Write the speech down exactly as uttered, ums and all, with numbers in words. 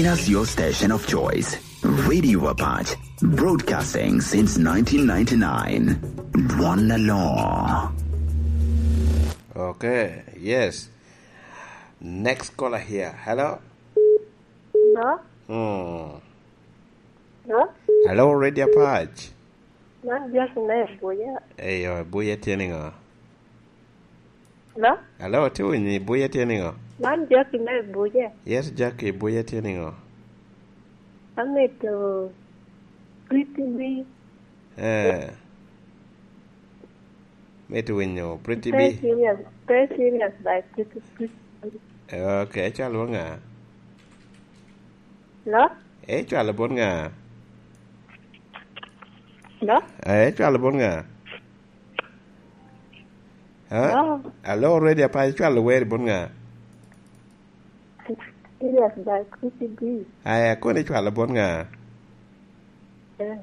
As your station of choice, Radio Apac, broadcasting since nineteen ninety-nine. Dwon Alor. Okay, yes. Next caller here. Hello? Hello? Hmm. Hello? Hello, Radio Apac. Man Jackie me Abuja. Eyo, Abuja tye niŋo? Hello? Hello, tye winyi, Abuja tye niŋo? Man Jackie me Abuja. Yes, Jackie, Abuja tye niŋo? Amito Pretty B. Eh. Mito winyo Pretty B. Pray serious, pray serious by Pretty, Pretty B. Eh, okay, ecwalo bot ŋa? Hello? Eh, ecwalo bot ŋa? Hello? Eh, ecwalo bot ŋa? Ha? Hello? Hello, Radio Apac, ecwalo wer bot ŋa? Serious by Pretty B. Aya, kono ecwalo bot ŋa? Eh.